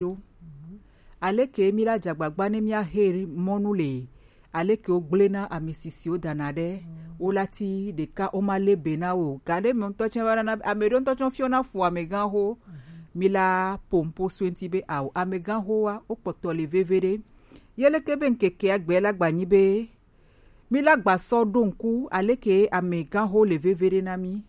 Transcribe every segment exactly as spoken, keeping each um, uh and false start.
ɖo. Aleke mí la dze agbagba ne míaxe mɔnu le? Aleke wogblẽ na ame sisiwo dana ɖe? Wolati ɖeka womale be na wo o. Gaɖe me ŋutɔ tsɛ va nana ame ɖewo ŋutɔ tsɛ fiɔna fu amegãxo. Mí la po nuƒo so eŋuti be ao, amegãxowoa, wokpɔtɔ le veviɖe. Ye leke be ŋkeke agbe la gbanyi be mí la gba sɔ ɖo ŋku aleke amegãxo le veviɖe na mí.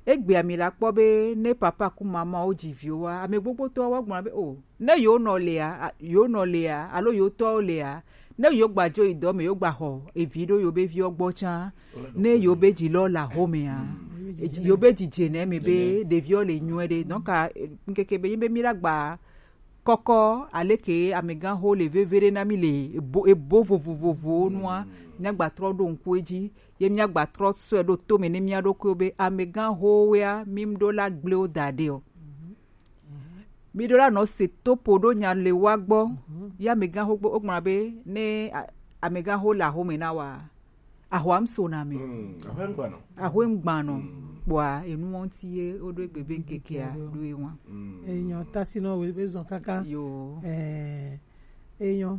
Egbea mi la kpɔ be ne papa ku mama wo dzi viwo wa, ame gbogbotɔwo wa gblɔ be o, ne yewo nɔ lea, a- yewo nɔ lea, alo yewo tɔwo lea, ne yewo gba dzo yi dɔ me, yewo gba xɔ evi ɖo yewo be viwo gbɔ tsã, ne yewo be dzi lɔ le axome a, yewo be dzi dze ne me be ɖeviwo le nyuie ɖe. Donc a- ŋkeke be nyi be mi la gba kɔkɔ aleke amegãxo le veviɖe na mí le ebo, ebo vovovovowo nua, míagba trɔ ɖo ŋku edzi, ye míagba trɔ sɔe ɖo to me ne mía ɖokuiwo be amegãxowoea, mí ɖo la gblẽ wo da ɖe o. Mí ɖo la nɔ se topo ɖo nya le wa gbɔ, ye amegãxo gbɔ, wogblɔna be ne a- amegãxo le axome na wa, axɔa ŋu sona me. Mm, axɔe ŋgbanɔ. Axɔe ŋgbanɔ. Mm. Kpɔa, enu ŋuti ye woɖo egbe be ŋkekea ɖo ye wa. Mm. Enyɔ, tasinɔ wo be zɔn kaka. Yo. Eh, enyɔ.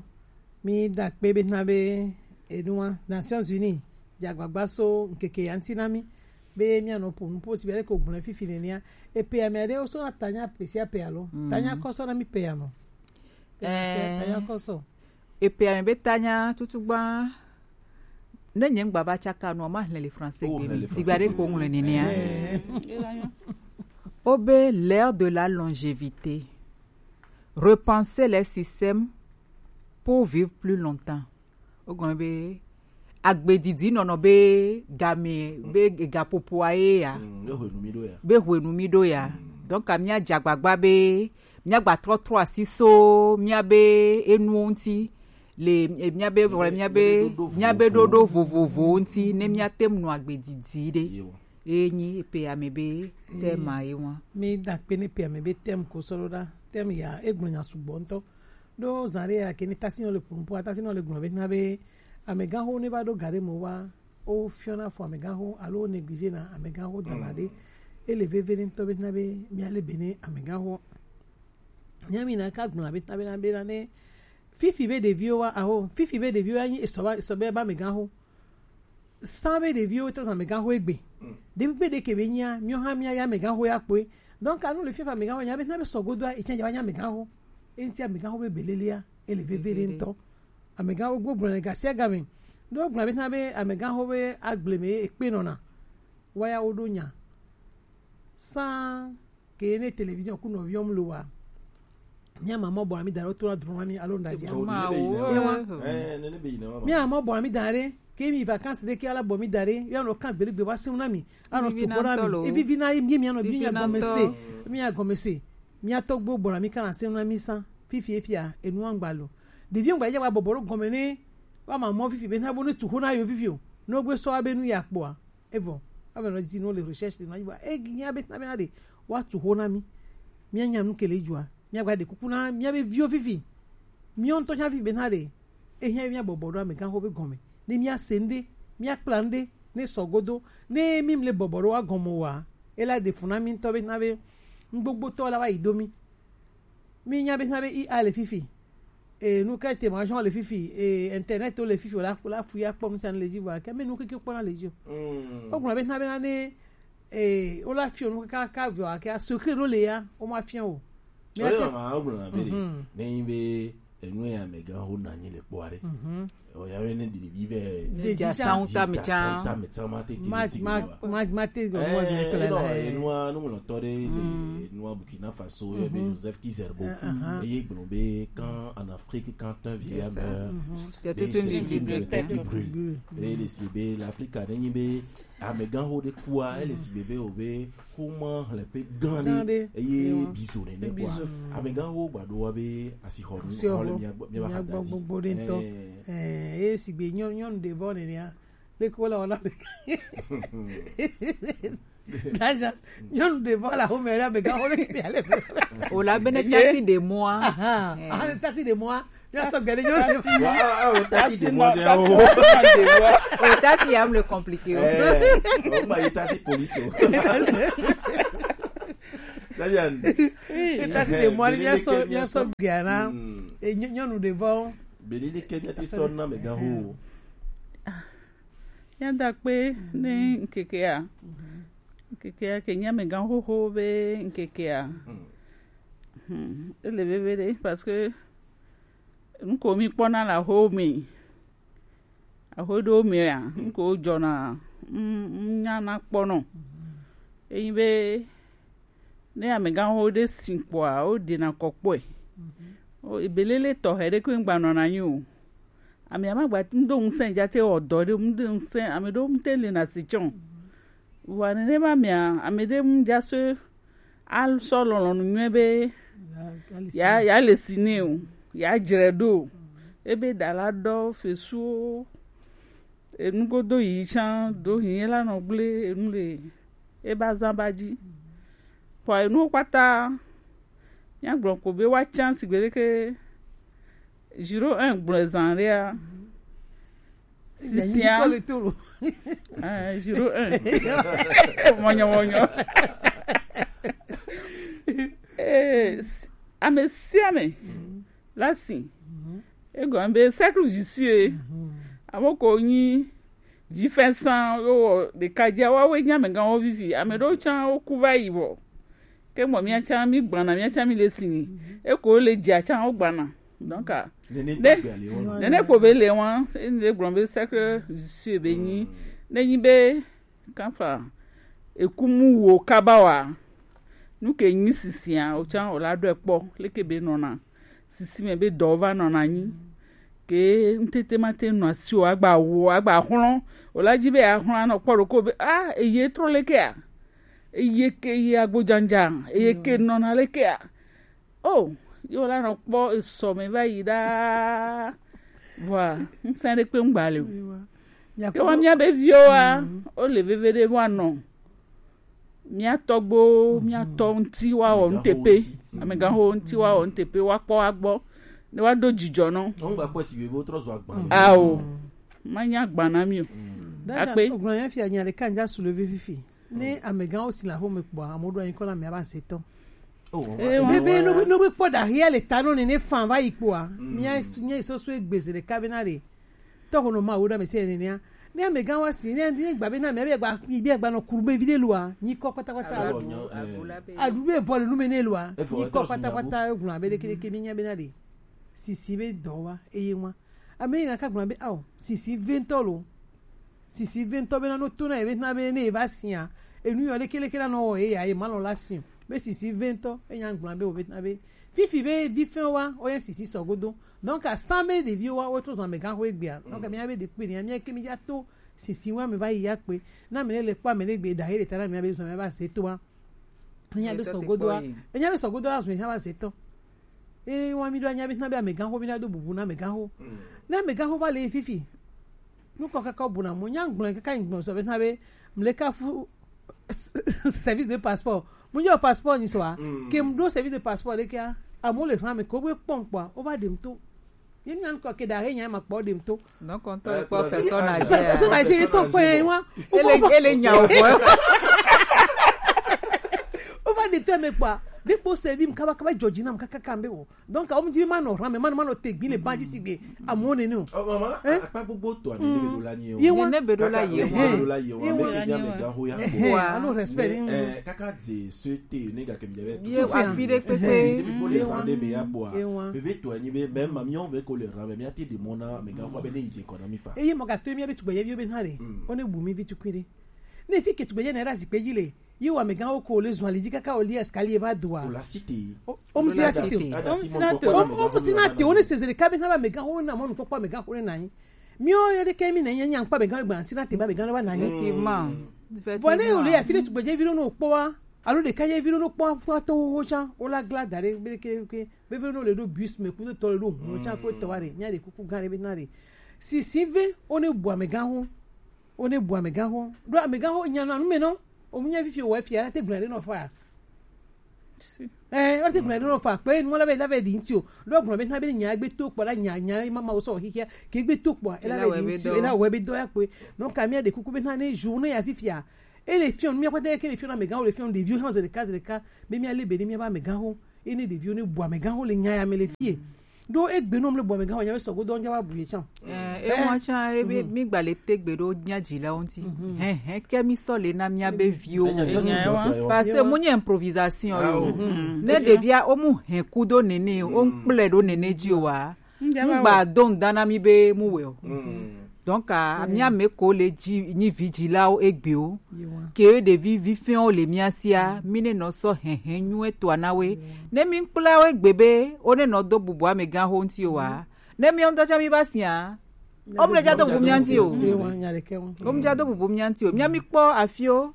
Mi da kpe be na be enua Nations Unies dze agbagba so ŋkeke ya ŋuti na mi be mianɔ ƒo nuƒo si be leke wogblɔe fifi nenea. Epe ame aɖewo sona tanya pe sia pe alo? Mm. Tanya kɔsɔ na mi pe ya nɔ. Eh. Tanya kɔsɔ. Epe ame be tanya tutugba. Ne nye ŋgba va tsaka nua, ma hlẽ le français gbe me. Sigba ɖe ko ŋlɔ nenea. Eh. Obe l'ère de la longévité. Repenser les systèmes pour vivre plus longtemps. Wogblɔ be agbedidi nɔnɔ be game be gaƒoƒoa ye ya. Mm, be hwenu mi ɖo ya. Be hwenu mi ɖo ya. Mm. Donc, mía dze agbagba be míagba trɔ trɔ asi so míabe enuwo ŋuti le, eh, míabe, míabe, míabe ɖoɖo vovovowo ŋuti ne míate ŋu nɔ agbe didi ɖe. Yewo. Eye nyi epe ame be thème ye wa. Mi da kpe ne pe ame be thème ko sɔ ɖo ɖa. Thème ya egblɔ nya sugbɔ ŋutɔ. Ɖo zã ɖe ya ke ne tasinɔ le ƒonuƒoa, tasinɔ le gblɔ be na be amegãxo ne va ɖo ga ɖe me wa, wo fiɔna fo amegãxo alo wo négligé na amegãxo dana ɖe. Ele veve ne ŋutɔ be na be míale be ne amegãxo. Nyami na ka gblɔ be na be na be na ne fifi be ɖeviwo wa aho, fifi be ɖeviwo ya nyi esɔ ba esɔ be ba amegãxo. San be ɖeviwo trɔ zan amegãxo egbe. Ɖevi kpe ɖe ke be nyia, míawo hã míayi amegãxo ya kpɔe. Donc anu le fifi amegãxo nya be na be sɔgodoa, etsã dza va nya amegãxo. Eŋuti amegãxo be belelea, ele veve ɖe ŋutɔ. Amegãxo gbogblɔ le gasia game. Ɖo gblɔ be na be amegãxo be agble me ekpe nɔna. Waya wo ɖo nya. San ke ne télévision ku nɔviɔm lo wa. Mía mamɔ bɔ ami da ɖo to la drɔn ami alo nda dzi. Ewa. Eh, nene be yina wa. Mía mamɔ bɔ ami da ɖe ke mi vacances ɖe ke ala bɔ mi da ɖe ya nɔ kan gbele gbe wa sim na mi. Anɔ tu ko na mi. Evivi na mi mi anɔ mi nya gɔme se. Mi nya gɔme se. Mía tɔgbo bɔ ami kana sim na mi san. Fifi efia enu angba lo. Ɖevi angba ya wa bɔbɔ ɖo gɔme ne wa mamɔ fifi be na bo ne tu ko na yo fifi o. No gbe sɔ abe nu ya kpɔa. Evɔ ame nɔ di no le recherche de no ayi wa e nya be na be na de wa tu ho na mi. Mía nya nu ke le dzua. Mía gba de kuku na mía be viwo fifi. Mía ŋutɔ nya fifi be na de. E nya mía bɔbɔ ɖo amegãxo be gɔme. Ne mía se ŋde, mía kpla ŋde, ne sɔ godo, ne mi mle bɔbɔ ɖo wa gɔme wa. E la de fu na mi ŋutɔ be na be ŋgbogbotɔ la wa yi do mi. Mi nya be na be I A le fifi. E nu ke te ma jɔn le fifi, e internet le fifi la la fu ya kpɔ nu san le dzi vɔ ke me nu keke kpɔ na le dzi o. O gblɔ be na be na ne e o la fiɔ nu ka ka vɔ ke a secret ɖo le ya o ma fiɔ o. Mi a te ma o gblɔ na be ne yi be enu ya me ga ho na nyi le kpɔ are. Oya be ne ɖiɖi vɛ. Ɖe dzi sa ŋuta mi tsa. Ŋuta mi tsa ma te ki ma ti ma ma ma te go mo be pe la. Enua nu ŋlɔtɔ ɖe le enua Burkina Faso ye be Joseph Kizerbo. Eye gblɔ be quand en Afrique quand un vieillard meurt, c'est toute une bibliothèque qui brûle. Eye le si be l'Afrique ne nyi be amegãxo ɖe kua ele si be be o be xoma hlɛƒe gã ɖe eye bizo nene kua amegãxo gbado wa be asixɔnu xɔ le mia gbɔ mia ba xa gbogbo ɖe ŋutɔ. Eye sigbe nyɔnu ɖe vɔ nenea leke wole wɔna be gaja nyɔnu ɖe vɔ la home ɖe amegãxo le kpe ale be o la bene tasi ɖe mɔa aha aha tasi ɖe mɔa. Yasɔ gɛlɛ yɔ ɖe. Wa awo tasi de mɔ de awo. O tasi ya mle compliqué o. Eh, o ma yi tasi police o. Dayan. Eta si de mo ni mi aso mi aso gbia na. E nyɔnu de vɔ. Beli de ke mi ati sɔ na me gan ho. Míada akpe ne ŋkekea. Ŋkekea ke nye amegã xoxo be ŋkekea. Hmm, ele veve ɖe parce que nu ko mi kpɔna le axowo me. Axo ɖewo mea, nu ko dzɔna, mm, mm, nyana kpɔnɔ. Enyi be ne amegãxo ɖe si kpɔa, woɖena kɔ kpɔe. O, ebelele tɔxɛ ɖe koe ŋgba nɔna anyi o. Ame ma gba ŋdo ŋusẽ dza te wɔ dɔ ɖe, ŋdo ŋusẽ, ame ɖewo ŋte le na si tsɔ. Vɔa nenema mea, ame ɖe ŋdza so asɔ lɔlɔ̃nu nyuie be ya ya le si nɛ o, ya dzre ɖo. Ebe ɖala ɖɔ fesuwo, enu godo yi tsã do yi la nɔ gble enu le ebe azã ba dzi. Vɔa enuwo kpata míagblɔ ko be woatsã sigbe leke Giro un gblɔe zã ɖea. Sisia. Eh, Giro un. Mɔnyɔmɔnyɔ. Eh, s- ame sia ame la si. Egɔme be cercle vicieux. Ame ko nyi vifɛsã wo wɔ ɖeka dzia, woawoe nye amegãwo vivi. Ame ɖewo tsã woku va yi vɔ. Ke mɔ míatsã mígbana, míatsã míle si nyi. Eko le dzia tsã wogbana. Donc, ah, nene ne tagbe ale wɔn. Nene ko be le wɔn, ne gblɔ be cercle vicieux be nyi. Ne nyi be kanfa ekumu wo kaba wa. Nu ke nyi sisia, o tsã o la ɖɔe kpɔ, leke be nɔna. Sisi me be dɔ va nɔna nyi. Ke ŋtete ma te nɔ asi o agba wo, agba xlɔ̃. O la dzi be axlɔ̃ anɔ kpɔ ɖoko be, ah, eye trɔ leke a? Eye ke ye agbodjandja, eye ke nɔna leke a? Oh, yo la nɔ kpɔ esɔ me va yi ɖaa. Vɔa, ŋsẽ ɖe kpe ŋgba le o. Ke wa mía be viwo wa, o le veve ɖe wa nɔ. Mía tɔgbo, mía tɔ ŋti wa wɔ ŋtepe. Amegãxo ŋti wa wɔ ŋtepe, wa kpɔ wa gbɔ. Ne wa do dzidzɔ nɔ. Ŋgba kpɔ si be bo trɔ zɔ agba. Ao. Ma nya agba na mi o. Akpe. Ogblɔ ya fia nya ɖeka ŋdza su le vivi fi. Ne amegãwo si le axome kpɔa, amewo ɖo anyi kɔ na amea be azetɔ. Veve no be kpɔ ɖahia le ta nɔ nene fan va yi kpɔa, mía mía sɔsɔ egbe ze ɖeka be na ɖe tɔxo nɔ ma wo ɖa me se nenea. Ne amegã wa si ne ne gba be na me be gba yi be gba nɔ kuru be vi de lua, nyi kɔ kpata kpata. Aɖu be vɔ le nu me ne lua, nyi kɔ kpata kpata egblɔ abe ɖeke ɖeke mi nya be na ɖe sisi be dɔ wa eye wa. Ame yi na ka gblɔ be ao sisi ve ŋtɔ lo. Sisi ve ŋutɔ be na no to na ye be na be ne ye va sia, enu yɔ leke leke la nɔ wɔ ye ya ye ma lɔ la si o. Be sisi ve ŋutɔ e nya gblɔ be o be na be fifi be vi fɛn wa o ya sisi sɔ godo. Donc à cent be ɖeviwo wa o trɔ zɔn amegãxo egbea. Donc mi ya be ɖekpe ni mi ke mi ya to sisi wa mi va yi ya kpe. Na mi le kpɔ ame le gbe da ye le ta na mi ya be zɔn mi ya ba se to wa. Enya be sɔ godoa, enya be sɔ godoa zun enya ba zetɔ. Eye wa mi do anya be na be amegã ho mi na do bubu na amegã ho. Na amegã ho va le fifi. Nu kɔ kaka bu na mo nya ngblɔ kaka ngblɔ sɔ be na be mle ka fu service de passeport. Mo nyo passeport ni so a. Ke mo do service de passeport le kia. Amo le hran me ko be pɔn kpɔ. O va de mo to. Ye nya nkɔ ke da he nya ma kpɔ de mo to. Donc on te kpɔ personne âgée. Personne âgée to kpɔ ye wa. Ele ele nya o boy. O va de to me kpɔ. De kpɔ se bi m kaba kaba jɔji na m kaka kambe o. Donc o m di ma no ran me ma no ma no te gbi le ba di sigbe. Amo ne no. Oh maman, apa gbogbo to ani ne be do la ni o. Ye wa. Ne be do la ye wa. Be do la ye wa. Be ke nya me ga ho ya. Wa. Alo respect ni. Eh kaka de souhaiter ne ga ke mi jabe. Ye wa fi de pepe. Ewa. Veve to anyi be mɛ ma miɔ be ko le ran be mi ati de mɔ na me ga ko be ne yi ko na mi fa. Eye mɔ ka to mi be tugbe ye bi be na re. O ne bu mi vi tukui re. Ne fi ke tugbe ye na ra zi pe yi le. Yi wa me ga o ko le zɔn ali ji kaka o li escalier va dua. O la cité. O mu ti la cité. O mu ti la te. O mu ti la te. O ne sezere ka be na ba me ga o na mɔ nu kpɔkpɔ me ga o ne na yi. Miɔ ye de ke mi na yi nya kpa be ga gba si na te ba be ga ba na yi. Effectivement. Vɔ ne o le ya fi ne tugbe ye vi no kpɔ wa. Alo ɖeka ye vi ɖo no kpɔ akpɔ to wo tsã wo la gla da ɖe be ke ke veve no le ɖo bus me kudo tɔ le ɖo hu tsã ko tɔ wa ɖe nya ɖe kuku gã ɖe be na ɖe sisi ve wo ne bu amegã ho wo ne bu amegã ho ɖo amegã ho nya na nu me nɔ o mu nya fifi o wa fia te gblɔ ɖe nɔ fa eh wa te gblɔ ɖe nɔ fa kpe nu la be la be di ŋti o ɖo gblɔ be na be nya gbe to kpɔ la nya nya ma ma wo sɔ xixia ke gbe to kpɔ ela be di ŋti o ela wɔ be dɔ ya kpe nɔ ka mi ɖe kuku be na ne journée ya fifia E le fiɔn, mía kpata ke le fiɔn amɛganxo, le fiɔn ɖeviwo hã zeɖeka zeɖeka, be mía le be ne mía ba amɛganxo, ene ɖeviwo ne bu amɛganxo le nya ya me le fie. Ɖo egbe nɔ mle bu amɛganxo nya be sɔgo dɔ nya wa bu ye can. Eh, e mɔ can e be mi gba le tegbe ɖo nya dzilawo ŋuti. Hɛn hɛn ke mi sɔ le na mía be viwo. Parce que mu nye improvisation yo. Ne ɖevia o mu hɛn kudo nene o ŋkplɛ ɖo nene dzi o wa. Ŋgba do ŋda na mi be mu wɛ o. Donc a mía me ko le dzi nyi vi dzilawo egbewo. Ke ɖevi vifɛnwo le mía sia, mi ne nɔ sɔ hɛhɛ nyuie toa na we. Ne mi kpla wo egbe be wo ne nɔ do bubu amɛganxo ŋuti o wa. Ne mi ŋutɔ tsã mi ba sia, wo mu le dza do bubu mía ŋuti o. Wo mu dza do bubu mía ŋuti o. Mía mi kpɔ afio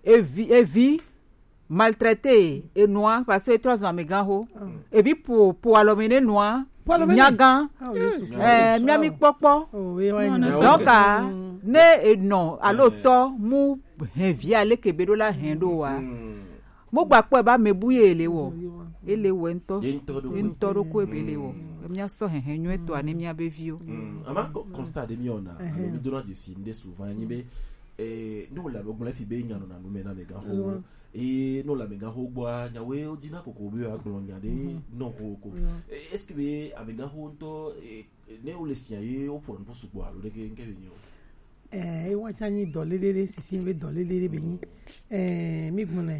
evi evi maltraité enua parce que etrɔ zɔn amɛganxo. Evi po po alɔ me ne nua nyagan. Eh, mía mi kpɔkpɔ. Donc a ne enɔ alo tɔ mu hɛn vi ale ke be ɖo la hɛn ɖo wa. Mo gba kpɔ ba me bu ye le wɔ. Ele wɛ ŋtɔ. Ye ŋtɔ ɖo ko ebe le wɔ. Mía sɔ hɛhɛ nyuie toa ne mía be viwo. Ama constat ɖe mi wɔna alo mi dona dzesi ŋɖe souvent nyi be eh, ne wòle ame gblɔm efi be nya nɔna nu me na amɛganxo. Eye ne wòle amɛganxo gbɔa, nyawoe wodina koko be woagblɔ nya ɖe nɔ kokoko. Eh, est-ce que be amɛganxo ŋutɔ eh, ne wole sia ye woƒo nu sugbɔ alo ɖeke ŋke be nyo? Eh, ewa tsa nyi dɔ lele ɖe, sisi be dɔ lele ɖe be nyi. Eh, mi gbɔna.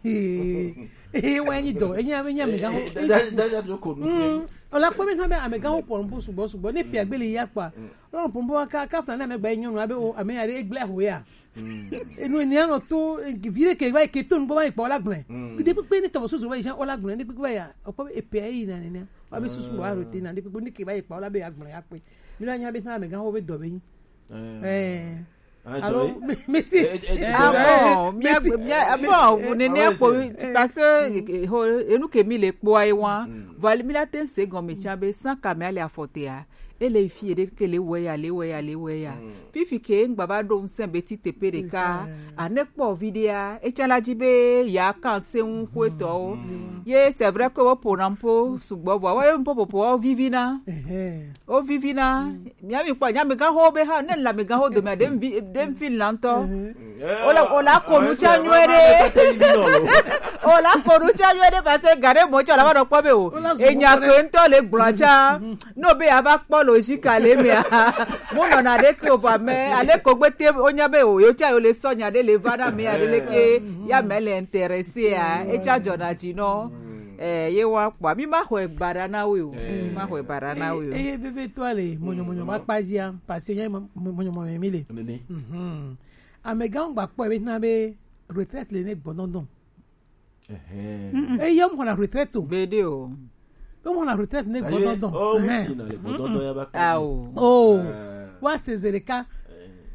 Eh, wa nyi dɔ, enyi ame nyi amɛganxo. Daja daja do ko nu. Ola kpɔ be na be amɛganxo ƒo nu sugbɔ sugbɔ ne pia gbe le ya kpɔa. Lɔn pompo ka ka fla na me gba nyɔnu abe o ame ya ɖe egble ho ya. Enu ni anɔ to vi ɖe ke va ke to nu va kpɔ la gblẽ. Ɖe kpekpe ne tɔ susu va yi o la gblẽ ɖe kpekpe va ya. O kpɔ epe yi na ne ne. Wa be susu wa ro te na ɖe kpekpe ne ke va kpɔ la be ya gblẽ ya kpe. Mi la nya be na amɛganxo be dɔ be nyi. Eh. Alo mesi ah bon mia mia bon vous ne ne ko parce que enu ke mi le kpɔ ayi wa. Voilà mi la ten se gɔme tsa be sans kame ale afɔtea. Ele fi ede ke le wɛ ya le wɛ ya le wɛ ya. Fifi ke ŋgba va ɖo ŋsɛn be ti teƒe ɖeka. Ane kpɔ vi ɖea etsa la dzi be ya kan se ŋu ko etɔwo. Ye c'est vrai que wo pona mpo sugbɔ vɔ wo mpo popo wo vivi na. Wo vivi na. Mia mi kpɔ nya mi gan ho be ha ne la mi gan ho do mi de mi de mi fi la ŋtɔ. Ola ola ko nu tsa nyuie ɖe. Ola ko nu tsa nyuie ɖe parce que gare mo tsa la va nɔ kpɔ be o. Enya ko ŋtɔ le gblɔ tsa. No be ava kpɔ logique ale mea. Mo nɔna ɖe ke o va me ale ko gbe te o nya be o yo tsa yo le sɔ nya ɖe le va na me ale ke ya me le intéressé a. Etsa dzɔna dzi nɔ. Eh, ye wa kpɔ mi ma xɔe gbaɖa na wo o. Mi ma xɔe gbaɖa na wo o. Eye vevitɔ le mɔnyɔmɔnyɔ ma kpa zia parce que mɔnyɔmɔnyɔ mi le. Amegãwo gba kpɔe be na be retraite le ne gbɔdɔdɔ. Eye mo na retraite o. Gbeɖe o. Be mo na retraite ne gbɔdɔdɔ. Ao. Wa se zereka.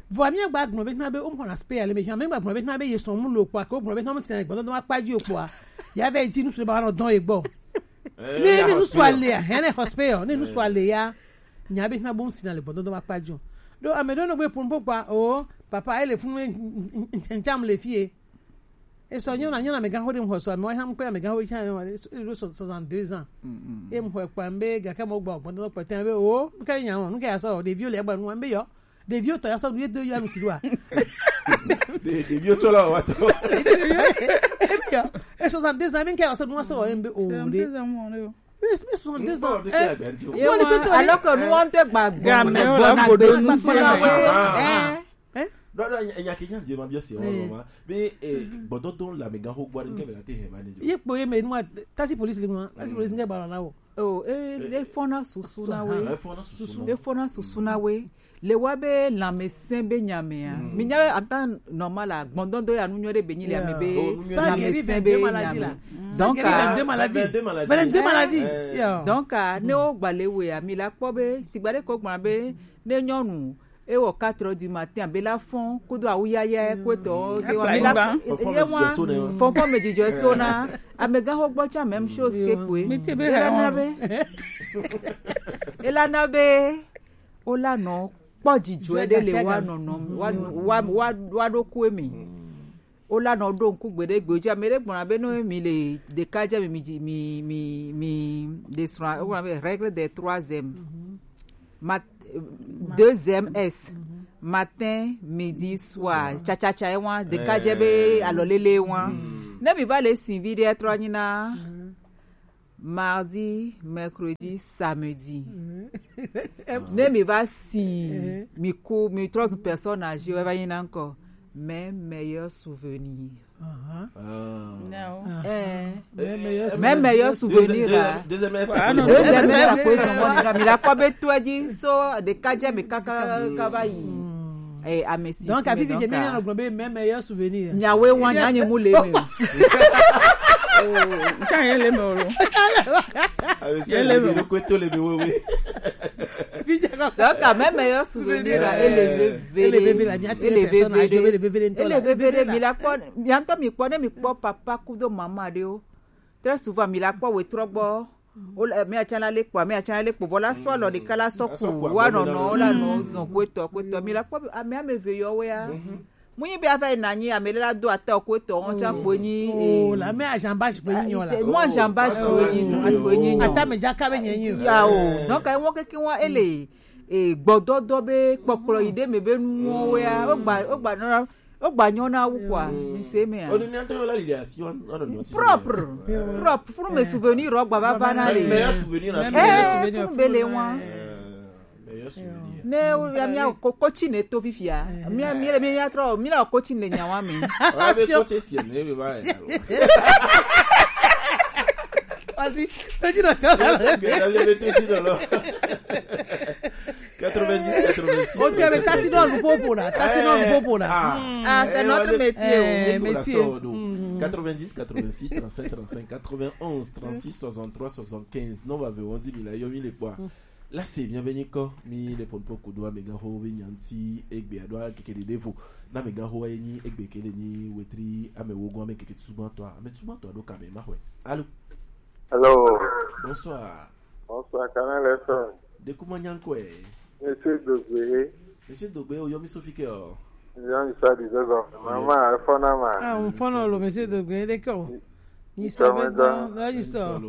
Vɔ mi gba gbɔn be na be o mo na spare le me mi gba gbɔn be na be ye sɔn mu lo kpɔ ko gbɔn be na mo ti na gbɔdɔdɔ ma kpa ji o kpɔ. Ya ve ti nu se ba na dɔn e gbɔ. Ne ne nu so ale ya, hene hospital, ne nu so ale ya. Nya be na bo mo ti na le gbɔdɔdɔ ma kpa ji o. Do ame do no gbe pun po pa o papa ele fun ncham le fie. E sɔ nyɔna nyɔna amegãxo ɖe ŋxɔ sɔ ame wa hã ŋkpe amegãxo tsã yɔ e ɖo soixante-deux ans. E ŋxɔe kpa ŋbe gake mo gbɔ gbɔdɔ kpɛtɛ be o ŋke nya o ŋke ya sɔ ɖeviwo le egba nu ŋbe yɔ ɖeviwo tɔ ya sɔ nu ye do ya nu ti ɖoa. Ɖeviwo tɔ la wa tɔ. Ebe yɔ e soixante-deux ans be ŋke ya sɔ nu wa sɔ wɔ ŋbe o ɖe. Mais mais soixante-deux ans. Alors que nous on te gba gba gba na gbe nu sɔ na we. Ɖɔɖɔ enya ke nya die ma biɔ si wɔn ma be gbɔdɔdɔ le amegãxo gbɔ ɖe ke be la te hɛn ma ne. Ye kpo ye me nua tasi polisi le nua tasi polisi ŋke gbalɔ na wo. O e e fɔna susu na we. E fɔna susu na we. E fɔna susu na we. Le wa be lãmesẽ be nyamea. Mi nya be en temps normal a gbɔdɔdɔ ya nu nyɔ ɖe be nyi le ame be lãmesẽ be nyame. Donc a donc a ne wo gba le we a mi la kpɔ be sigba ɖe ko gblɔ be ne nyɔnu ewɔ quatre heures du matin abe la fɔn kudo awu yaya kuetɔ de wa mi la ye wa fɔnfɔn me dzidzɔ so na amegãxo gbɔ tsã même chose ke koe. Elana be elana be wola nɔ kpɔ dzidzɔ ɖe le wa nɔnɔ wa wa wa ɖo koe me. Wola nɔ ɖo ŋku gbe ɖe gbe dzi ame ɖe gbɔna be no mi le ɖeka dze mi mi mi mi mi de srɔ̃ wogblɔna be règle des trois M. Mat deux M S. Matin, midi, soir. Tchatchatcha ye wan, ɖeka dze be alɔlele wan. Ne mi va le si vi ɖe trɔ nyi na mardi, mercredi, samedi. Ne mi va si, mi ku, mi trɔ zu personne âgée, wa va nyi na encore. Mes meilleurs souvenirs. Ah. Non. Eh, Mais meilleur mes meilleurs souvenirs là. Deuxième S. Ah, non, Deuxième S, ça peut être moi, mi la kwa be to di so de kadje mi kaka kava yi. Eh, amesi. Donc, à Vivi, j'ai mis dans le globe mes meilleurs souvenirs. Nyawe wa nyanyi mu le me. Tiens, il est mort. Avec ça, le kweto le bewe. Donc, à mes meilleurs souvenirs là, et les bébés. Et les bébés, la mienne, les personnes âgées, les bébés, les Et les bébés, mi la kwa, mi anto mi kwa ne mi kwa papa kudo mama de o. Très souvent, mi la kwa we trɔ gbɔ. O la, mi atsa la le kpɔ, mi atsa la le kpɔ. Voilà, soit le de kala sɔ ku, wa nɔ nɔ, la nɔ zɔn kwetɔ kwetɔ. Mi la kwa, ame ame ve yɔ wea. Mu nyi be ava yi na nyi ame la do ata kwetɔ, on tsa kpo nyi. Oh, la mais agent bash pe nyi nyo la. Moi j'embâche kpo nyi, kpo nyi nyo. Ata me jaka be nyi nyo. Ya o. Donc, ayi won keke won ele. E gbɔdɔdɔ be kpɔkplɔ yi de me be nuwo wea. O gba, o gba nɔ, o gba nyɔ na wu kwa. Mi se me a. O ni anto la lili asi on on on. Propre. Propre. Funu me souvenir o gba va va na le. Meilleur souvenir na. Eh, funu be le wan. Meilleur souvenir. Ne o ya mi a ko coaching ne to fifia. Mi a mi le mi ya trɔ, mi la coaching le nyawa mi. Ah, mais coach si ne be ba. Vas-y, t'as dit la Bien, la vérité dit dans l'or. quatre-vingt-dix, quatre-vingt-six. Ok, mais t'as sinon le popo là. T'as sinon le popo là. Ah, c'est notre métier. Eh, Nicolas métier. Sordo. quatre-vingt-dix, quatre-vingt-six, trente-cinq, trente-cinq, quatre-vingt-onze, trente-six, soixante-trois, soixante-quinze. Non, va ver, on dit, il a eu les points. Là, c'est bien, Beniko, mi le pon poco do, amega ho, venyanti, egbe, adwa, keke de devo. Na mega ho, ni, egbe, kele, ni, wetri, ame, wogo, ame, keke, tsuban, toi, ame, tsuban, toi, do, kame, ma, hwe. Allô? Hello, Bonsoir. Bonsoir, Canal F M. De kuma nyankwe. Monsieur Dogbe, Monsieur Dogbe, o yomi Sophie ke o. Jean Issa Dizego, maman, Fonama. Ah, on fond le monsieur de Guédéco. Il sort maintenant, là, il sort.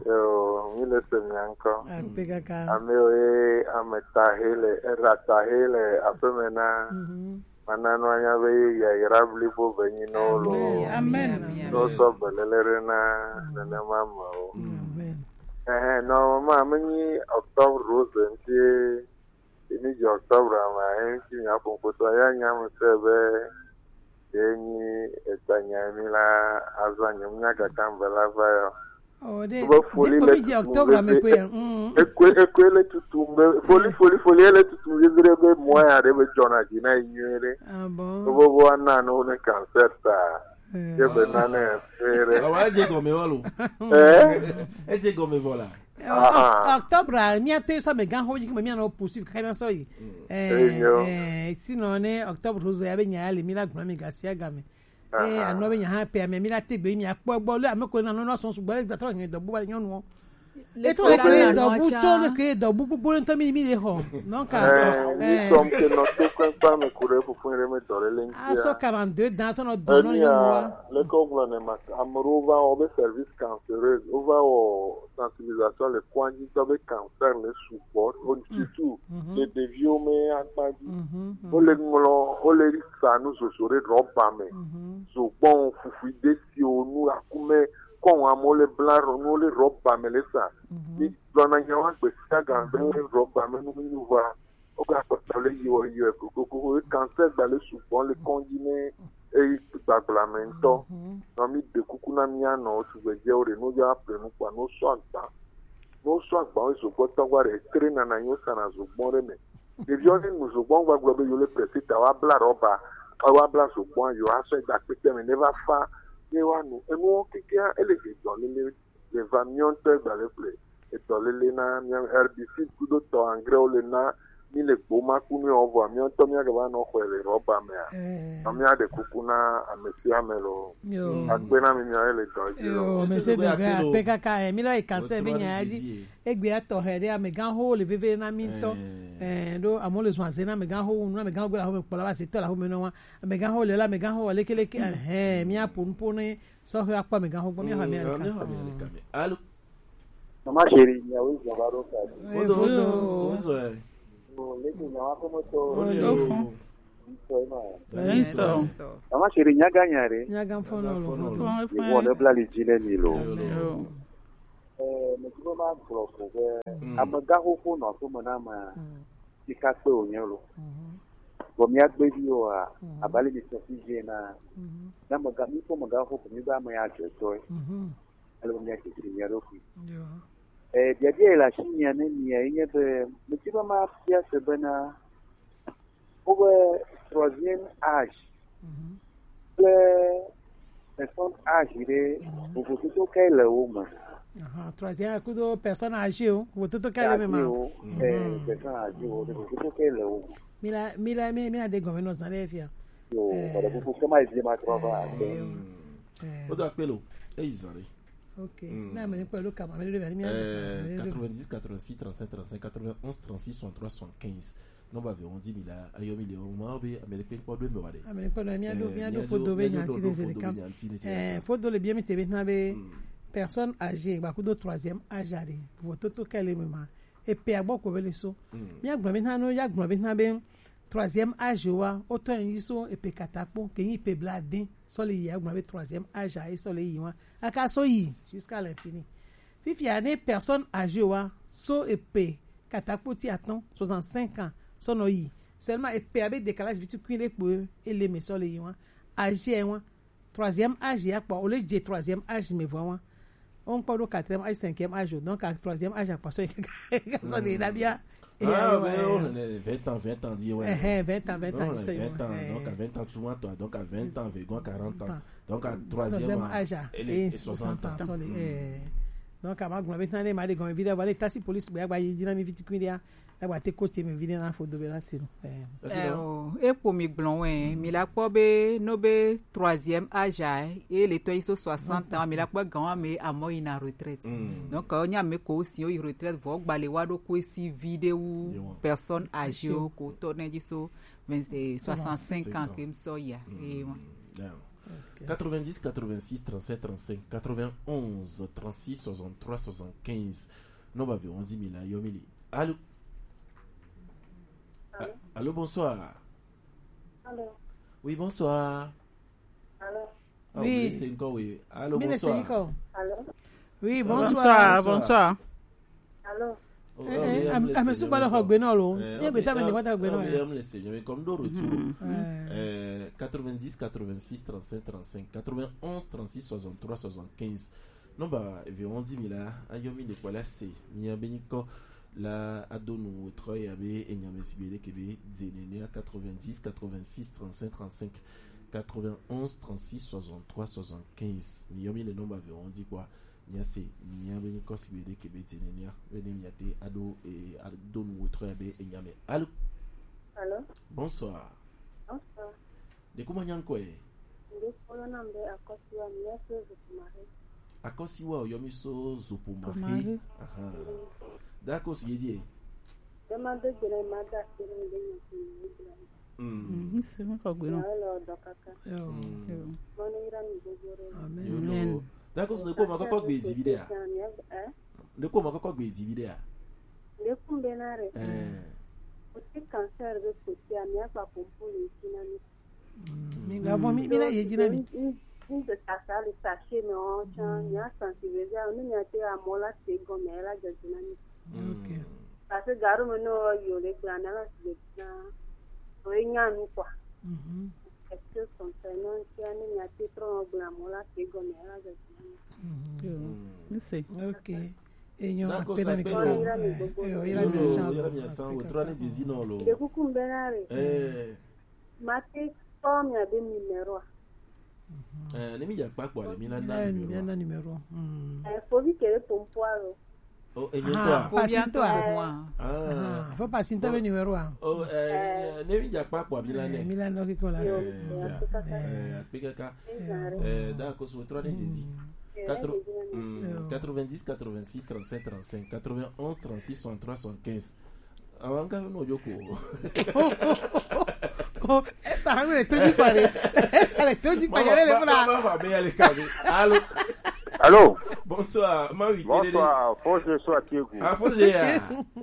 Yo, mi le se mi encore. Ah, P K K. Ame oye, ame tahe le, era tahe le, ape mena. Mhm. Mana no anya be ya yra blibo be nyi no lo. Amen. No so belele re na, nene ma ma o. Amen. Eh, no, ma, me nyi Octobre Rose nti, emi je Octobre ma, enti mi apo foto ya nya me se be, ye nyi eta nya mi la, azan nya mi nya kaka mbela va yo. Oh, de, Bo foli de le komi je tutu Octobre be- me pe. Mm. Ekwe, ekwe le tutu be, foli, foli, foli le tutu be, be, be, mo ya de be, jona di na inyo de. Ah bon. Bo, bo, ana no ne cancer ta. Eh. Ye be na ne fere. Ah ouais, j'ai gommé, voilà. Eh? Et j'ai gommé, voilà. Ah. Octobre, mi a te so me gan ho ji me mi na poursuivre ka na so yi. Eh, yo. Eh, sinon ne Octobre Rose ya be nya ya le mi la gba mi ga sia ga me. Eh, ano be nya ha pe mi mi la te gbe mi a po gbo le ame ko na no no so su gbo le gba to yen do bu ba nyonu o. E to le kre do bu cho le kre do bu bu bu to mi mi le ho. Donc, Eh, nous sommes que notre coin pas me courir pour faire me doré a so l'intia. quarante-deux dans son do no Emi yo. a, le ko gblɔ ne ma, ameɖewo va wɔ be service cancéreux, wova wɔ sensibilisation le kɔa dzi tɔ be cancer le sugbɔ, o- surtout le ɖeviwo me akpa dzi. Wole ŋlɔ, wole sa nu zozo ɖe rɔba me, zogbɔn, fufui, desiwo, nu akume, kɔn amewo le bla rɔ-, nuwo le rɔba me le sa. Mi gblɔna nyawo gbe sia gbe be rɔba me nu mi va. Woga kpɔtɔ le yiwɔ yiwɔ gogogo, ye cancer gba le sugbɔ le kɔdzi ne eyi gbagbla me ŋutɔ. Nɔ mi ɖe kuku na mia nɔ tugbedzewo ɖe, no ya ple nu kpa, no sɔ agba. No sɔ agba wo zogbɔ tɔgba ɖe, tre nana nyo sana zogbɔ ɖe me. Ɖeviwo ne nu zogbɔ gbagblɔ be yo le presi ta, wa bla rɔba, wa bla zogbɔ, yo asɔ da kpekpe me ne va fa, ye wa nu. Enuwo kekea, ele he dɔ lele. Le va miɔ ŋutɔ gba le ple. Edɔ lele na mia herbicide kudo tɔ engrais wo le na mi le gbo ma ku mi o vɔ miɔ ŋutɔ mia gba nɔ xɔe le rɔba me a. Nɔ mia ɖe kuku na ame sia ame lo. Yo. Akpe na mi mia le dɔ dzi lo. Yo, monsieur Dogbe, akpe kaka, eh, mi lɔ yi cancer be nya ya dzi. Egbe atɔ he ɖe amegãxowo le veve na mi ŋutɔ. Eh, ɖo amewo le zɔn aze na amegãxowo nu, amegãxowo gbe le aƒeme kpɔ la va se tɔ le aƒeme nɔ wa. Amegãxowo le la, amegãxowo lekeleke, eh, mia ƒo nu ƒo ne sɔhɛ akpɔ amegãxowo gbɔ, mia xɔ amia ɖeka. Allô? Mama chérie, miawo zɔ va ɖo ka. Eh, vodo. Bonsoir. Ole. Ole. Ole. Sɔ. Sɔ. Ama sere nyaga nya ɖe. Nyaga fɔnɔ lo. Nyaga fɔnɔ lo. Yewo ne bla li dzi ne mi lo. Yo. Yo. Eh, me ti ma gblɔ ko be, mm, amegã xoxo nɔ aƒeme na ame, mm, sika kpe wònye lo. Mhm. Vɔ míagbe viwo a, mhm, abe ale mi sɔ fi dze na, mhm, ne amegã, mi kpɔ amegã xoxo, mi be ame ya dze tɔe. Mhm. Ale be míadze si mía ɖokui. Yo. Eh, biabia yi le asinyia ne mia ye nye be, medi be mabia se bena, wobe troisième âge, mhm, kple personne âgée ɖe, mhm, vovototo kae le wo me? Aha, troisième kudo personne âgée wo, vovototo kae le me ma? Âgée wo, eh, mhm, personne âgée wo, vovototo kae le wo me? Mila, mila, mi, mi ade gɔme nɔ zã ɖe fia. Yo, eh, wòle kuku ke ma zi ma trɔ va. Eh, yo. Mm. Eh. Wodo akpe lo, eyi zã ɖe. Ok. Hmm. Na ame ɖe kpɔe ɖo kama, ame ɖe ɖo bia, mi ame ɖe ɖo bia. Quatre-vingt-dix, quatre-vingt-six, trente-cinq, trente-cinq, quatre-vingt-onze, trente-six, soixante-trois, soixante-quinze. Nɔmba ve wɔn di mi la, eyɔ mi le wɔn ma be ame ɖe kpe kpɔ ɖo eme wa ɖe. Ame ɖe kpɔ ɖo, mi aɖo, eh, mi aɖo fodo be nyanti ne zeli kam. Eh, fodo le bia mi se be na be, hmm, personne âgée, ba kudo troisième âge aɖe. Vototo kae le me ma. Epe agbɔ ko be le so. Hmm. Mi agblɔ be na no, ya gblɔ be na be troisième âge wa, wotɔ yi so epe katakpo, ke yi pe bla de, sɔ le yi, agblɔ be troisième âge a, sɔ le yi wa. Aka so yi, jusqu'à l'infini. Fifia ne personne âgée wa, so epe katakpo ti atɔn, soixante-cinq ans, sɔ nɔ yi. Seulement epe abe décalage vitukuin le kpo, ele me sɔ le yi wa. Âge wa, troisième âge ya kpɔ, o le dze troisième âge me vɔ wa. O ŋkpɔ ɖo quatrième âge, cinquième âge, donc à troisième âge akpɔ sɔ yi ka sɔ de na bia. Ah, mais on est vingt ans, vingt ans, dit, ouais. Eh, vingt ans, vingt ans, non, c'est vingt ans, ouais. Donc à vingt ans, souvent, toi, donc à vingt ans, Végon, quarante ans. Donc à troisième âge, et les soixante ans. Sɔ le, eh. Donc à ma gblɔ be tana ma de gɔme vidéo, voilà, tasi police, ba, ba, yi dina mi viti kundi ya. Eba te ko tie me vi ɖe na fo do be la si no. Eh. Eh, o, e kpo mi gblɔ wɛ, mi la kpɔ be no be troisième âge a, e le tɔ yi so soixante ans, mi la kpɔ gan wa me amɔ yi na retraite. Mm. Donc, o nya me ko si o yi retraite, vo gba le wa ɖo ko si vi ɖe wu personne âgée o ko tɔ ne ji so vingt, eh, soixante-cinq ans ke m sɔ ya. Mm. Eh, wa. Yeah. Ok. Quatre-vingt-dix, quatre-vingt-six, trente-sept, trente-cinq, quatre-vingt-onze, trente-six, soixante-trois, soixante-quinze. Non, ba ve, on dit mille, yo, mille. Allô? Allô? Ah, allô, bonsoir. Allô? Oui, bonsoir. Allô? Ah, oui. Vous laissez encore, oui. Allô, bonsoir. Allô? Oui, bonsoir. Bonsoir, bonsoir. Allô? Oh, eh, eh, am, am, suba le xɔ gbe nɔ lo. Eh, ye gbe ta me ne wa ta gbe nɔ. Am le Seigneur, mais comme de retour. Mhm. Eh, quatre-vingt-dix, quatre-vingt-six, trente-cinq, trente-cinq, quatre-vingt-onze, trente-six, soixante-trois, soixante-quinze. Nɔmba ve wɔn di mi la, ayɔ mi le kpɔ la se. Mi ya be nyikɔ la ado nu trɔ ya be enya me si be ɖe ke be dze nene a quatre-vingt-dix, quatre-vingt-six, trente-cinq, trente-cinq, quatre-vingt-onze, trente-six, soixante-trois, soixante-quinze. Mi yɔ mi le nɔmba ve wɔn di kpɔ. Mia se, mia be nyikɔ si be ɖe ke be dze nene a, be ne mia te ado, eh, ado nu wo trɔ ya be enya me. Allô? Allô? Bonsoir. Bonsoir. De kuma nya ŋkɔ ye? Nde kpɔlɔ nam be Akɔsiwa, mi ya so Zopomahe. Akɔsiwa o, yɔ mi so Zopomahe. Zopomahe. Aha. Mm. D'accord, si ye die. Be ma de gbe na ma da se na de nya ko ni gbe na. Mm. Mm, mi se mi ko gbe na. Ya lo do kaka. Yo. Mm. Yo. Mo ne ira mi gbogbo re. Amen. Yo lo. Amen. D'accord, so de ko ma kɔkɔ gbe di bi de a. Eh? De ko ma kɔkɔ gbe di bi de a. De kun be na re. Eh. O ti cancer be ko ti a mi akpa pompo le ti na mi. Mm. Mi ga vɔ mi, mi na ye dzi na mi. N, n, n de sasa le sachet me o tsan, mm, mi a sensibiliser, ne mi a te amɔ la se gɔme la dzɔ dzi na mi. Mm. Ok. Parce que garo me no yo le gblɔ na la se dzi na. O ye nya nu quoi. Mhm. Quelque chose comme ça, non, si a ne mi a te trɔ gblɔ amɔ la se gɔme la dzɔ dzi na mi. Mhm. Yo. Mm. Mi se. Ok. Enyo, d'accord, akpe na mi kaka. Yo, yo, yo, yo, yo, mi a san, o trɔ ne dzi dzi no lo. De kuku be na re. Eh. Ma te kpɔ mia be numéro a? Eh, ne mi dza kpa kpɔ ale mi na na numéro. Mi na numéro. Mm. Eh, fovi kele pompo alo. Oh, enye to a. Ah, fovi to a. Ah. Ah, fo pasi to be numéro a. Oh, eh, ne mi dza kpa kpɔ mi la ne. Mi la no ki ko la. Eh, sa. Eh, akpe kaka. Eh, d'accord, so trɔ ne dzi dzi. Quatre, mm, quatre-vingt-dix, quatre-vingt-six, trente-cinq, trente-cinq, quatre-vingt-onze, trente-six, soixante-trois, soixante-quinze. Awa nka no joko. Oh, Esther, han le toji pare. Esther le toji pare le funa. Mama, mama, be ya le ka be. Allô? Allô? Bonsoir, ma wi. Bonsoir, faut je sois Tiegu. Ah, faut je ya.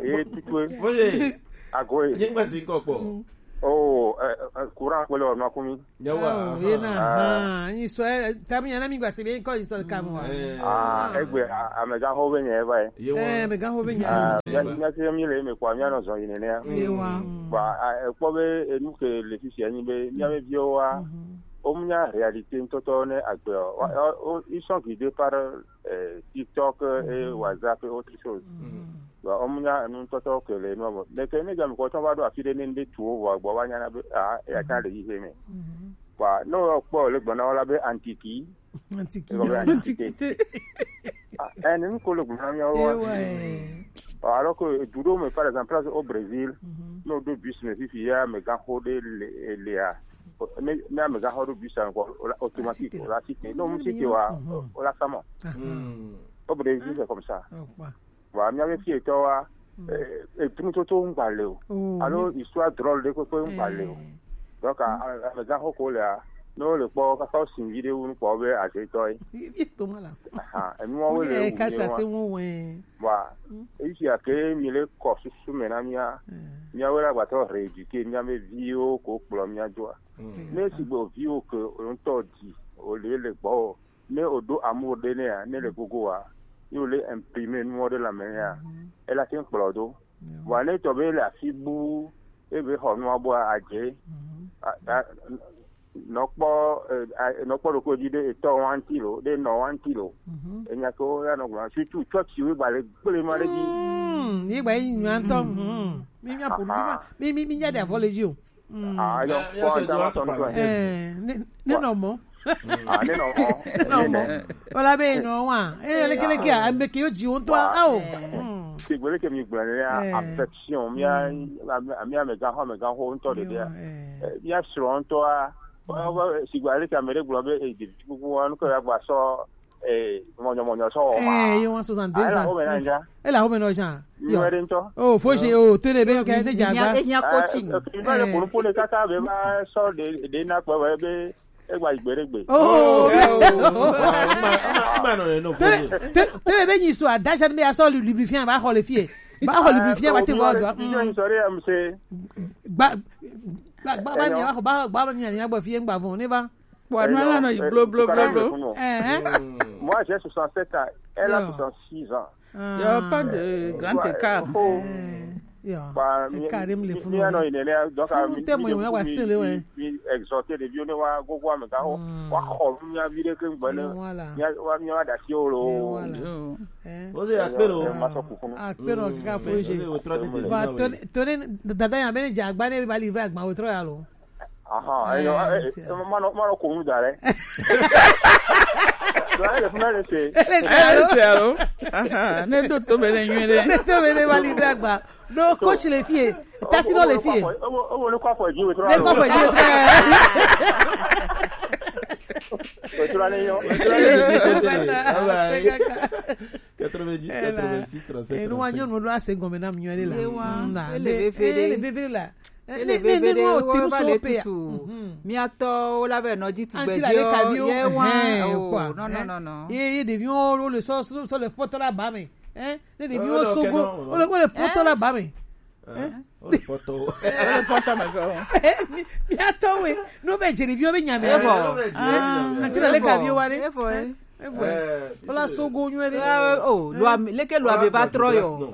Et tu peux. Faut je. Agoe. Nye ŋgba si ŋkɔ kpɔ. Oh, eh, eh, courant kpele wa makumi. Nyawa. Oh, ye na. Ah. Ha, ni so, eh, tamu yana mi gba se be ko so ka mo wa. Eh. Ah, egbe, ah, amega ho be nye ba. Ye wa. Eh, amega ho be nye. Ah, ya, ya se mi le me kwa mi ano zo yin ne. Ye wa. Ba, ah, e kpɔ be enu ke le fifia nyi be mi ame viwo wa. Mhm. O mu nya réalité ŋtɔtɔ ne agbe o. Wa, o, o, ils sont guidés par, euh, TikTok et WhatsApp et autre chose. Mhm. Bon, o mu nya enu ŋtɔtɔ ke le nu bɔ. Mais ke ne game ko tɔn va ɖo afi ɖe ne ŋɖe tu wo vɔ gbɔ va nya na be, ah, ya tsa le yi he me. Mhm. Bon, ne o kpɔ le gbɔ na wo la be Antiki. Antiki. E kɔ be Antiki. Antiquité. Ah, eh, ne ko le gbɔ na mi wo. Eh, ouais. Bon, alors que du ɖo me, par exemple, place au Brésil, mhm, no do bus me fifi ya me gan ho de le, le a. Ne, ne me gan ho do bus a ko automatique, o la cité. Non, mu cité wa, mhm, o la samo. Ah. Hmm. Au Brésil, c'est comme ça. Oh, ouais. Wa, mía be fietɔ wa, mm, eh, eh, etunutoto ŋgba le o. Oh, alo oui. Histoire drôle ɖe kpekpe ŋgba le o. Eh. Donc, a, a, amegãxo ko lea, ne wole kpɔ, kaka wosi vi ɖe wu nukpɔ be azetɔ ye. Yi, yi to ma la. Aha, enuawo le wu ka sa se wo wɛ. Wa, mm, eyi sia ke mi le kɔ susu me na mía, mm, míawo la gbatɔ rééduquer mía be viwo ko kplɔ mía doa. Mm. Ne sigbe viwo ke o ŋutɔ di, o le le gbɔ o. Ne o ɖo amour ɖe nɛa, ne le gogo wa, ye o le imprimer nuwo ɖe lanmɛ nɛa, mhm, ela te ŋu kplɔ do. Yeah. Vɔa ne tɔ be le afi bu, e be xɔ nua bua adze, mhm, a, a, nɔ kpɔ, eh, a, nɔ kpɔ ɖokpo dzi ɖe etɔ wanti lo, ɖe nɔ wanti lo. Mhm. Enya ke wo ya nɔ gblɔ, surtout church wo gba le gble ma ɖe dzi. Mm, ye gba yi nyuantɔ. Mm. Mi mi apo mi ma, mi mi mi nya ɖe avɔ le dzi o. Mm. Ah, yo, eh, yo, kpɔ se ŋutɔ do atɔ atɔ kpɔ. Eh, ne, ne nɔ mɔ. Ah, ne nɔ mɔ. Ne nɔ mɔ. Wala be nɔ wa. Eh, leke leke a, ame ke yo dzi wo ŋutɔ. Wa. Ao. Mm. Sigbe leke mi gblɔ ne ya, eh, affection, mía, mm, mía, mía amegãxo, amegãxo ŋutɔ ɖeɖea. Yo, eh. Eh, mía srɔ̃ ŋutɔa, wa, wa, sigbe leke ame ɖe gblɔ be, eh, ɖevi kuku wa, nu ke ya gba sɔ, eh, mɔnyɔmɔnyɔ sɔ wɔ ma. Eh, ye wa soixante-deux ans. Ah, ela wo me na nja. Ela wo me nɔ jan. Yo. Nyuie ɖe ŋutɔ. Oh, fo je, oh, to le be ke ne ja gba. Ehia coaching. Eh, eh, va le kunu ƒo ne kaka be va sɔ ɖe, ɖe na kpɔ be, be egba yi gbe ɖe gbe. Oh, oh, oh, oh, oh. Ma, ma, ma nɔ ne nɔ fo. To le, to le be nyi so adaja be asɔ lubrifia ba xɔ le fie. Ba xɔ lubrifia ba te vɔ do. Ah, oh, mi, mi, mi, sorry, I'm say. Gba, gba, gba, ba ni ba xɔ, ba, ba ni ni agba fie ngba vɔ ne ba. Bon, nous allons, eh, blo, blo, blo, blo. Eh, hein? Moi, j'ai soixante-sept ans. Elle a soixante-six ans. Il y a pas de grand écart. Oh. Eh, yo. Ba, mi, écart, mi, mi, donc, funu te mo wa sele we. Mi exhorter les vieux, ne wa gogo amegãxo. Wa xɔ mi a vi ɖe ke gbɔ ne. Voilà. Mi wa, mi wa da si o lo. Voilà. Yo. Eh. O se akpe lo. Ma sɔ kukunu. Akpe lo kaka fo je. Ba, to ne, to ne, dada ya be ne ja gba ne ba livrer agba o tro ya lo. Aha, eh, eh, eh, eh, mano, mano ko nu da re. Do ale funa le se. Ele se alo? Ele se alo? Aha, ne do to be le nyuie ɖe. Ne to be le ba livrer agba. No, coach le fie. Tasi no le fie. O, o, o, ne kwa fo ji we tro. Ne kwa fo ji we tro. We tro ne yo. Ele se alo? Bye bye. Quatre-vingt-dix, quatre-vingt-six, trente-sept, eh, nous, trente-sept. Nous, nous, nous, c'est comme un homme, nous, elle est là. Ye wa, mm, na, ele veve ɖe. Ele veve la. Eh, ele ne, ne, veve ne, ɖe, no, wo te nu va so le pe ya. Tutu. Mhm. Mía tɔwo la be nɔ dzi tugbedze o. Anti la le kavi o. Ye wa, eh, oh, quoi, non, non, eh, non, non. Ye, ye ɖeviwo wo le sɔ, sɔ, sɔ le pɔtɔ la ba me. Eh, ne ɖeviwo sogo, wo le, wo le pɔtɔ la ba me. Eh? Eh? O le pɔtɔ. Eh, o le pɔtɔ me go. Eh, mi, mía tɔwo, no be dze ɖeviwo be nya me. Eh, bon. Ah, anti la le kavi wa ɖe. Eh, bon. Eh? Evo. Eh, wala sogo nyuie ɖe. Eh, oh, lua me, leke lua me va trɔ yɔ.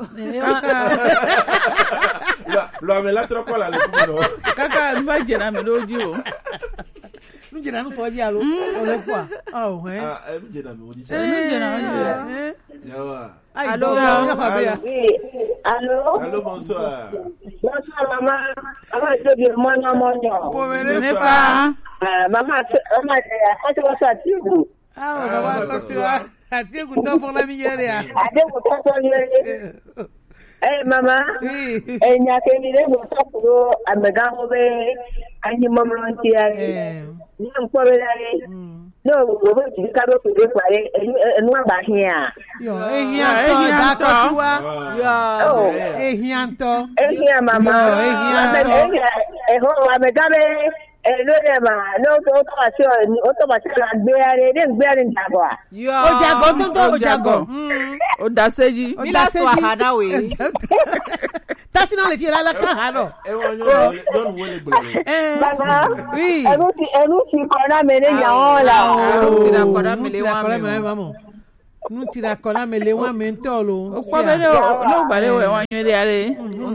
Lua, lua me la trɔ kɔ la le kuma no. Kaka nu va dze na me ɖo dzi o. Nu dze na nu fɔ dzi alo? Mm. O le kua? Oh, eh. Ah, eh, nu dze na me o dzi. Eh, nu dze na me o dzi. Eh. Yawa. Ayi, allô? Dɔ, dɔ, dɔ, dɔ, dɔ. Oui. Allô? Allô, bonsoir. Bonsoir, maman. Maman, je viens, mon nom, mon nom. Bon, mais ne pas. Euh, maman, c'est, maman, c'est, ah, c'est bonsoir, tu vous. Ah, on va voir quand tu vas. Ah, tu es content pour la mignonne, hein. Ah, tu es content pour la mignonne. Eh, mama, eh, nya ke mi le mo sɔ kuro amegãwo be anyi mɔmlɔ ŋuti ya. Eh. Nye ŋkpɔ be la ye. Mm. No, wo be ti ka be ko be kwa ye, enu, enu aba hia. Yo, ehia ŋutɔ, da kɔ si wa. Yo. Oh. Ehia ŋutɔ. Ehia mama. Yo, ehia ŋutɔ. Ehia, eho, amegã be, eh, lo de ma, no, to, to, asi, o, to, ma, si, la, gbe ya de, de, gbe ya de, da kɔ. Yo. O jagɔ, tonton, o jagɔ. Mm. O da se dzi. Mi la sɔ aha na we. Tasi na le fie la la kan ha no. E wa nyɔnu wo le, nyɔnu wo le gblɔ le. Eh. Baba. Oui. Enu ti, enu ti kɔ na me ne nya wo la. Ah, enu ti na kɔ na me le wa me. Nu ti na kɔ na me le wa me ŋutɔ lo. O kpɔ be ne o, ne o gba le wɛ wa nyuie ɖe ale.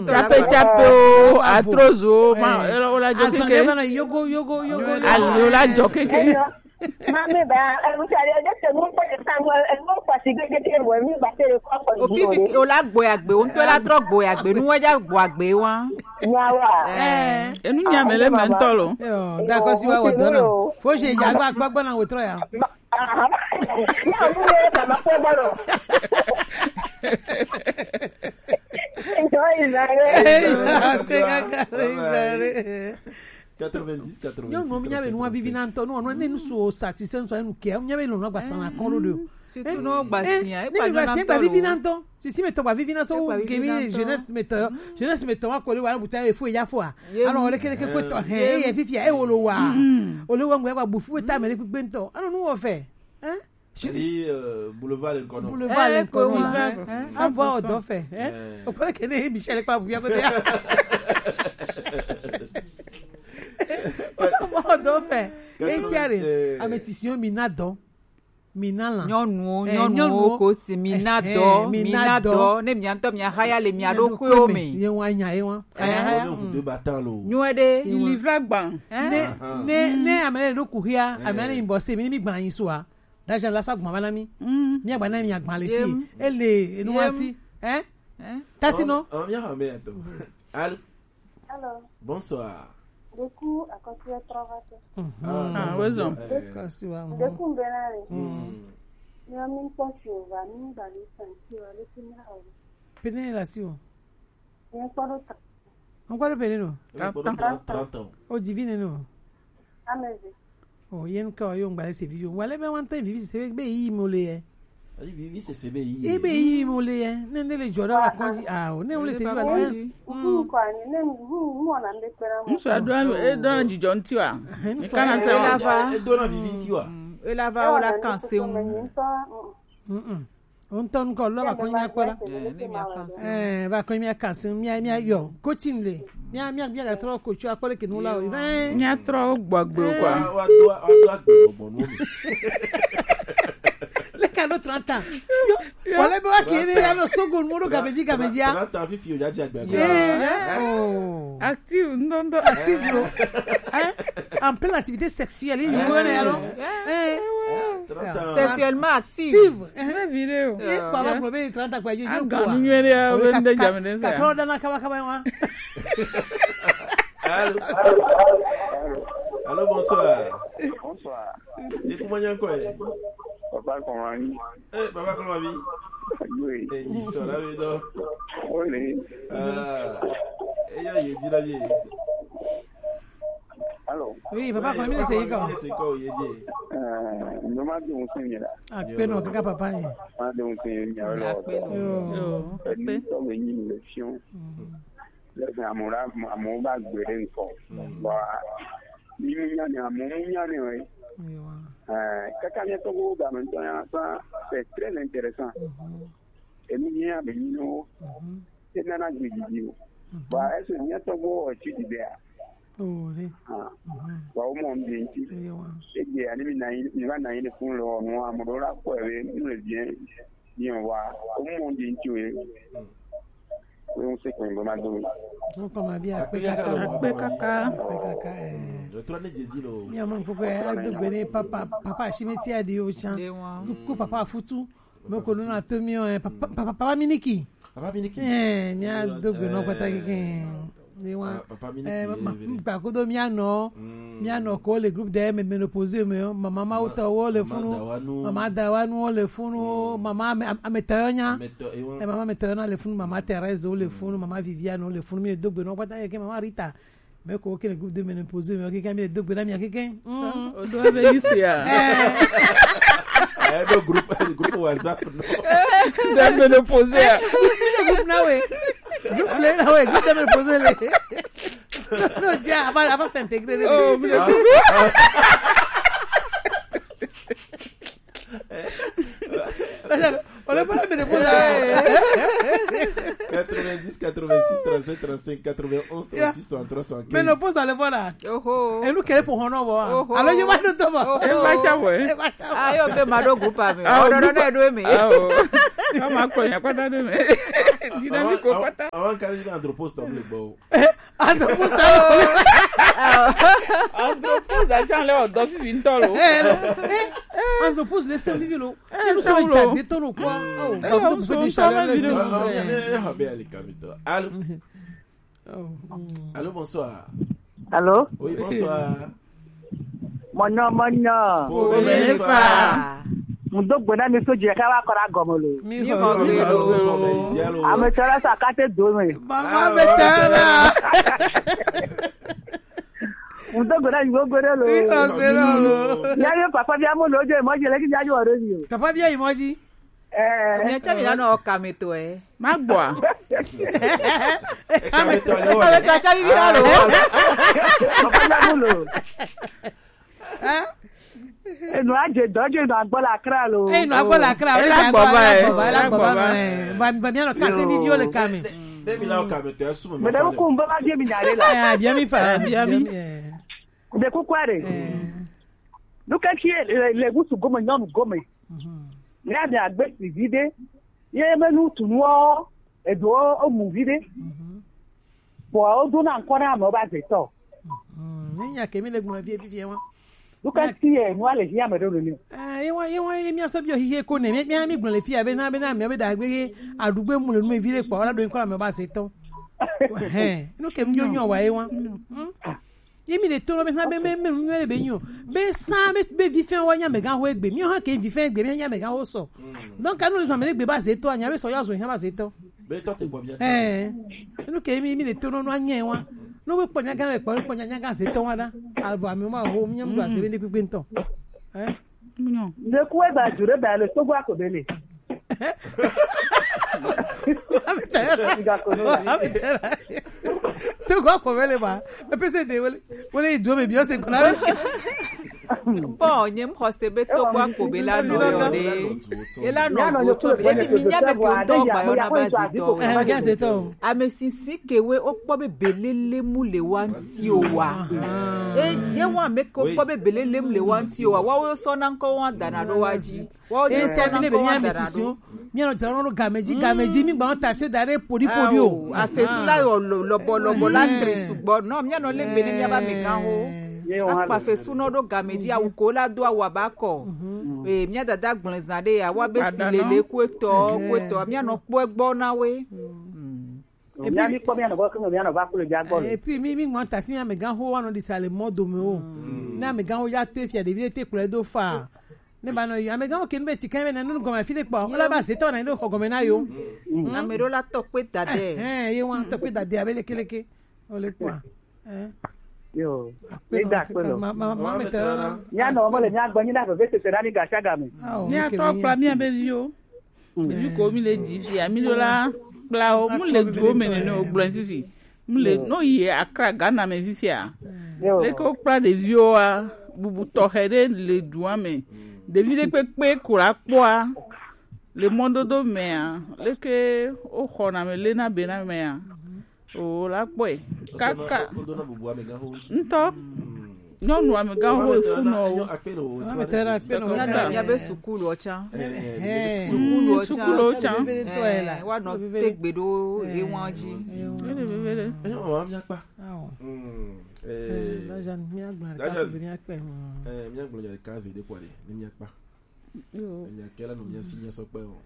Tsape tsape o, atrozo o, ma, ela o la jo keke. Azan ɖe va na yogo, yogo, yogo, yogo. Ali o la jo keke. Mami ba, eh, vous savez, je te montre que ça, moi, eh, mon fatigué, je te vois, mi ba te le corps. O fifi, o la gboyagbe, o ŋutɔ la trɔ gboyagbe, nu wa ja gboyagbe wa. Nyawa. Eh. Enu nya me le me ŋutɔ lo. Yo, d'accord, si wa wo dɔna. Faut que ya gba gbagba na wo trɔ ya. Aha. Na mu le mama ko gbɔdɔ. Enjoy Zare. Hey, okay, okay, Zare. Quatre-vingt-dix, quatre-vingt-six, nyɔnu mi nya be nua vivi na ŋutɔ, nu ɔnu ne nu su o satisfait ŋutɔ enu ke, mi nya be lɔnu agba sana kɔn ɖo de o. Surtout no gba sia, e pa gba sia gba vivi na ŋutɔ. Sisi me tɔ gba vivi na so gemi jeunesse me tɔ, jeunesse me tɔ wa ko le wa buta e fo ya fo a. Alors o le kele ke ko tɔ he, e ye fifia e wo lo wa. O le wa ngwe gba bufu ta me le gbegbe ŋutɔ. Alors nu wo fɛ. Hein? Chérie, euh, boulevard Lincoln. Boulevard Lincoln. Hein? Envoie au dauphin, hein? O kɔrɔ ke ne Michel kpa buya ko de. Envoie au dauphin. E ti are. Ame sisi mi na dɔ. Mi na la. Nyɔnuwo, eh, nyɔnuwo ko si mi na dɔ, mi na dɔ. Ne mia ŋutɔ mia haya le mia ɖokuiwo me. Ye wa nya ye wa. Haya haya. Nyuie ɖe. Ilivra gban. Ne ne ne ame le ɖo kuhia, ame le inbox mi ni mi gban yin so a. Dajan la sa gbɔn va na mi. Mi agba na mi agba le fi. Ele enu wa si. Hein? Tasi no. Ɔn, mi ha me ato. Allô? Allô? Bonsoir. Du coup, à côté de trois vaches. Ah, wezɔn. D'accord, si wa. Du coup, ben là. Mi a mi kpɔ si o va, mi ba le santi o, le ti mi ha o. Pene la si o. Mi kpɔ do ta. Ŋkɔ ɖe ƒe ɖe nɔ? Trente ans. Trente ans. O dzi vi nene o. Ame eve. O ye ŋkɔ ye ŋgba le se vi yo. Wa le be wa ŋutɔ vivi se be yi mo le ye. Ayi vivi se se be yi. E be yi mo le ye. Ne ne le jɔ ɖe wa kɔdzi. Ah, o ne wo le se vi wa le. Ŋku ko anyi ne ŋku mo na nde kpera mo. Ŋsu ado e do dzidzɔ ŋti wa. E kana se wa. E do na vivi ŋti wa. E la va o la kan se ŋu. Mm-mm. O ŋutɔ ŋkɔ lɔ va kɔ nya kpɔ la. Eh, va kɔ mia kansi, mia, mia yɔ. Coaching le. Mia, mia, mia trɔ coach akpɔ le ke nu la o. Eh. Mia trɔ gbɔgbe kwa. Wa do, wa do agbe gbɔgbɔ nu mi. Le ka do trente ans. Yo, wala be wa ke ne ya no sogo nu do gabeji gabeji a. Trente ans fifi o ya ti agbe. Eh. Oh. Active, ndo, ndo, active lo. Hein? En pleine activité sexuelle, il y a alors. Hein? Trente ans. Sexuellement active. Active. Hein? Une vidéo. Eh, papa, problème, trente ans, quoi, je dis quoi? Trente ans, kaba, kaba, hein? Allô? Allô, bonsoir. Bonsoir. Ni kuma nya ko e? Papa, comment? Eh, papa, comment va? Oui. Eh, il sera là, oui, donc. Oui. Ah, eh, ya, il dit là, il. Allô? Oui, papa, comment il est, c'est quoi? Eh, no ma dun sin mi la. A pe no kaka papa ye. Ma dun sin mi la. A pe no. Yo. Yo, a pe. To me ni le fion. Le amora, amora gbere nko. Wa. Ni mu nya ni amu nya ni we. Yo. Eh, kaka mi to go ga me to ya sa, c'est très intéressant. Mhm. Enu nye abe nyi no. Mhm. E nana gbe didi o. Mhm. Ba ese nye tɔgbo o ti di bia. O le. Ah. Mhm. Ba o mo ndi nti. Ewa. E gbe ani mi na yin, mi ba na yin fun lo no amodo la ko e be nu le bien. Bien wa. O mo ndi nti o e. Mm. O mo se ko ngo ma do. Ko ko ma bi a pe kaka. A pe kaka. A pe kaka, eh. Mm. Lo tro ne Jésus lo. Mi a mo ko ko e a do gbe ne papa, papa si me ti a di o chan. Ewa. Ko papa futu. Me ko nuna to mi o, eh, papa, papa, papa Miniki. Papa Miniki. Eh, mi a do gbe no pata keke. Ni wa. Ah, papa Miniki, eh, ma, eh, ma, gba kodo mi a no. Mm. Mi a no ko le groupe de me, ménopause me o. Mama ma uta wo le funu. Mama Dawanu wo le funu. Mm. Mama me, am, Ametoyo nya. Ameto-, eh, wa. Eh, mama Ametoyo na le funu. Mama Thérèse wo le funu. Mm. Mama Viviane wo le funu. Mi do gbe no pata keke mama Rita. Mais ko kele groupe de ménopause, mais keke mi do gbe na mi keke. Hmm. O do be isi ya. Eh. Eh, do groupe, groupe WhatsApp, non. De ménopause. Eh, groupe na we. Groupe le na we, groupe de ménopause le. Non, non, dia, avant, avant s'intégrer. Oh, mais on n'est pas la ménopause. Dix quatre-vingt-six trente-sept trente-cinq quatre-vingt-onze trente-six soixante-trois soixante-quinze. Mais non, pose dans le voilà. Oho. Et nous, quel est pour honor, voilà. Oho. Alors, je vais nous tomber. Oho. E va tsa vɔ. E va tsa vɔ. Ah, yo, be ma ɖo groupe me. Ah, oh, non, non, groupe. Non, do me. Ah, oh. Kama kpɔ nya kpata do me. Dina mi ko kpata. Awa kali na andropos to le bo. Andropos to. Andropos da chan le odo fi vintolo. Andropos le se vivi lo. Eh, nous sommes déjà détonnés, quoi. Oh, eh, donc, vous faites des chaleurs, les gens. Ah, ah, eh, eh, eh, eh, allô? Oh. Allô, bonsoir. Allô? Oui, bonsoir. Mon nom, mon nom. Pour Omefa. Mo do gbona mi so je ka wa kora gomo lo. Mi ko lo. Ame tara sa ka te do me. Mama me tara. Ŋdɔ gbe na yi gbogbo ɖe lo. Yi gbogbo ɖe lo. Ya yɔ papa bia mo lo dze mɔ dzi le ki bia dzi wɔ ɖe mi o. Papa bia yi mɔ dzi. Ɛɛ. Mia tsa mi la nɔ kame to ɛ. Ma gbɔ a. Kame to le wo. Kame to tsa mi bi la lo. Papa bia mo lo. Enu adze dɔ dze nɔ agbɔ la kra lo. Eyi nɔ agbɔ la kra. Ela gbɔ va ɛ. Ela gbɔ va ɛ. Va mi va mi anɔ kase mi viwo le kame. Ne mi la wo kame to esu me. Mede wo kum be va bia mi nya ɖe la. Eh, bia mi fa. Eh, bia mi. Eh. De kukua ɖe. Eh. Nu ka tsi le, le ŋutsu gome, nyɔnu gome. Mhm. Ne ame agbe si vi ɖe, ye be nu tu nuwo, eɖewo womu vi ɖe. Mhm. Vɔa wodona ŋkɔ na amewo be azetɔ. Mhm. Ne nya ke mi le gblɔ vie, vie, vie wa. Nu ka tsi ye nua le hiã me ɖo nene. Eh, ye wa, ye wa, ye mia sɔ bi o hihe ko ne, mia, mia mi gblɔ le fia be na, be na, mia be da gbe ye, aɖugbe mu le nu me vi ɖe kpɔ, wala ɖo ŋkɔ na amewo be azetɔ. Hɛn, nu ke mi nyɔ nyɔ wa ye wa. Hmm? Ye mi le to be na be, be, be, be, be, be, nyo. Be sa, be, be vi fɛn wa nya me gan ho egbe. Mi ha ke vi fɛn egbe, mi nya me gan ho sɔ. Donc, anu le zɔn me le gbe ba ze to, nya be sɔ ya zo nya ba ze to. Be to te gbɔ bia. Eh. Nu ke mi, mi le to no no anya wa. No be kpɔ nya gan le kpɔ, kpɔ nya nya gan ze to wa da. Albo ami ma ho, mi nya mu ba ze be ne gbegbe nto. Eh? Nyo. Ne ku e ba jure ba le to gwa ko be le. Togo akɔmɛ le ma. Epese de wele, wele idzo me bi ose kpana. Bon, nye m xɔse be Togo akɔmɛ la nɔ yɔ de. Ela nɔ du tso mi. Ebi mi nya me ke ŋutɔ gba yɔ na ba zi tɔ. Eh, ga se tɔ. Ame sisi ke we o kpɔ be belele mu le wa ŋti o wa. E, ye wa me ke o kpɔ be belele mu le wa ŋti o wa. Wa wo sɔ na ŋkɔ wa dana ɖo wa dzi. Wo dze sɔ na kɔ wa dara ɖo. Míanɔ dzra nɔ gameji, gameji, mi gbanɔ ta se da ɖe podi podi o. Afesu la yɔ lɔbɔ lɔbɔ la tre sugbɔ. Nɔ míanɔ le gbe ne míaba amegãwo. Akpa fesu nɔ ɖo gameji awu ko la do awu aba kɔ. Ee, mía dada gblẽ zã ɖe ya wa be si lele ku etɔ, ku etɔ. Míanɔ kpɔ egbɔ na we. Et puis, mi kpɔ mía nɔ gbɔ ke mía nɔ va kple mía gbɔ le. Et puis, mi, mi ŋlɔ ta si mía amegãxo wa nɔ ɖi sa le mɔ dome o. Ne amegãxo ya to efia ɖevi ɖe te kplɔe do fa. Ne ba nɔ yi amegãxo ke nu be ti kan be na nu gɔme fi ɖe kpɔ. Wala ba zetɔ na yi ɖo xɔ gɔme na yo. Ame ɖewo la tɔ kpe da de. Ɛhɛn, ye wa tɔ kpe da de abe leke leke. O le kpɔ. Yo. Akpe nɔ, akpe nɔ. Ma, ma, ma, ma, mía nɔ mɔ le mía gbɔ nyi na veve tete na mi gasiagame. Mía tɔ kpla mía be viwo. Ɖevi ko mi le dzi fia, mi ɖo la kpla wo, mu le duwo me nene o gblɔe fifi. Mu le, no yi Accra, Ghana me fifia. Leke wo kpla ɖeviwo wa, bubu tɔxɛ ɖe le dua me. Ɖevi ɖe kpekpe ko la kpɔa, le mɔdodo mea, leke wo xɔna me le na be na mea. O la kpɔe. Kaka. Ŋutɔ. Nyɔnu amegãwo ho efu nɔ wo. Míabe sukulu ɔtsa. Sukulu ɔtsa. Sukulu ɔtsa. Wa nɔ te gbe ɖo ewan dzi. Veve ɖe. Enyo wa míakpa. Míagblɔ ɖeka ve ɖe kɔ ɖe ne míakpa. Míakela no míasi míasɔ kpe o.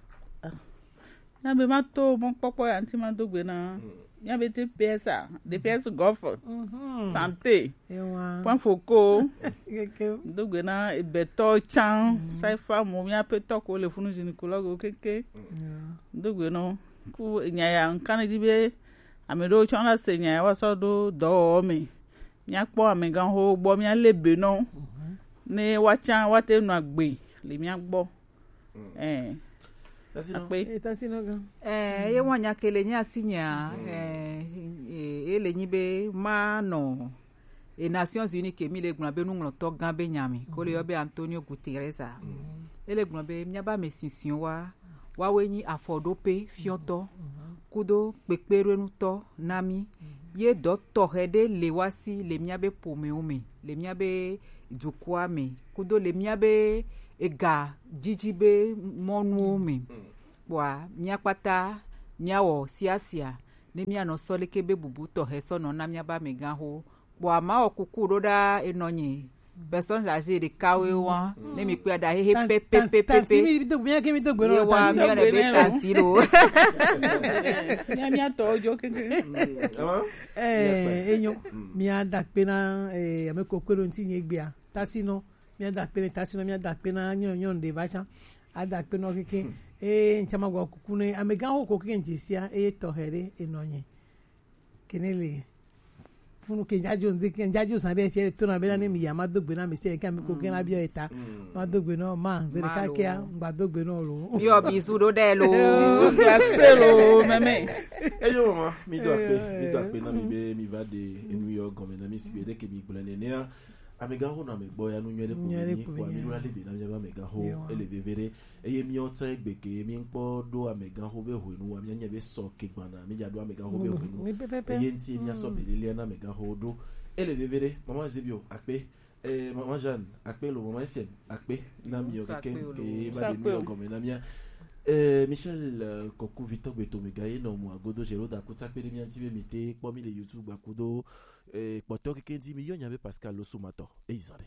Na be ma to mɔkpɔkpɔ ya ŋuti ma do gbe na. Mía be D P S a, D P S golf, santé, point focal. Do gbe na ebetɔ tsan, saifa mo, mía petɔ ko le funu gynécologue keke. Do gbe no. Ku nya ya ŋkan di be ame ɖewo tsɔ la se nya ya wa sɔ ɖo dɔwɔwɔ me. Míakpɔ amegãxowo gbɔ, míalé be nɔ. Ne woatsã woate nɔ agbe le mía gbɔ. Ɛɛ. Akpe. Ɛɛ, ye wa nya ke le nye asi nyea, ɛɛ, ye le nyi be ma nɔ e Nations Unies ke mi le gblɔ be nuŋlɔtɔ gã be nya mi, ko le yɔ be Antonio Guterres a. Ele gblɔ be míaba ame sisiwo wa, woawoe nyi afɔɖoƒe fiɔtɔ. kudo kpekpeɖoenutɔ na mí. Ye dɔ tɔxɛ ɖe le wá si le míabe ƒomewo me, le míabe dukɔa me, kudo le míabe ega jiji be mɔnuwo me. Kpɔa míakpata míawɔ siasia ne míanɔ sɔ leke be bubu tɔxɛ sɔ nɔ na míabe amegãxo. Kpɔa mawɔ kuku ɖo ɖa enɔnye. Personne âgée ɖekawoe wa ne mi kpea ɖa hehe pɛpɛpɛpɛ. Tanti mi do gbɛ ke mi do gbɛ nɔ. Ye wa tanti. Mi yɔ ɖe be tanti lo. Mía mía tɔ jo keke. Eh, enyo. Mía da kpe na eh ame kokwe ɖo ŋti nye gbea. Tasinɔ. Mía da kpe na tasinɔ, mía da kpe na nyɔ nyɔ ɖe va tsa. A da kpe nɔ keke. Eh, ŋtsama gwa kuku ne amegãxo ko keke ŋtsi sia eye tɔxɛ ɖe enɔnye. Kene le funu ke njajo nde ke njajo san ɖe fia to na be na ne mi ya ma do gbe na mi se ke mi ko ke na biɔ eta. Ma do gbe no ma nze de ka ke a ngba do gbe no lo. Yo bisu ɖo ɖe lo. Bisu glase lo meme. Eyo mama, mi do akpe, mi do akpe na mi be mi va de enu yɔ gɔme na mi si be ɖe ke mi gblɔ nenea. Amegãxo nɔ ame gbɔ ya nu nyuie ɖe ko mi kpɔ mi ɖo ale be na mi va amegãxo ele veve ɖe. Eye míawo tsã egbe ke míkpɔ ɖo amegãxo be hwenu wa míanya be sɔ ke gbana mídza ɖo amegãxo be hwenu. Eye ŋuti míasɔ be lelea na amegãxowo ɖo. Ele veve ɖe, mama Zebio akpe, eh, mama Jeanne akpe lo, mama Etienne akpe na mi o keke ke va ɖe nu yɔ gɔme na mía. Eh, Michel, eh, Koku vitɔ gbe to mega ye nɔ mu agodo zero da kuta kpe ɖe mía ŋuti be mi te kpɔ mi le YouTube gbakudo, eh, kpɔtɔ keke ŋuti mi yɔ nya be Pascal Losumatɔ. Eyi zan ɖe.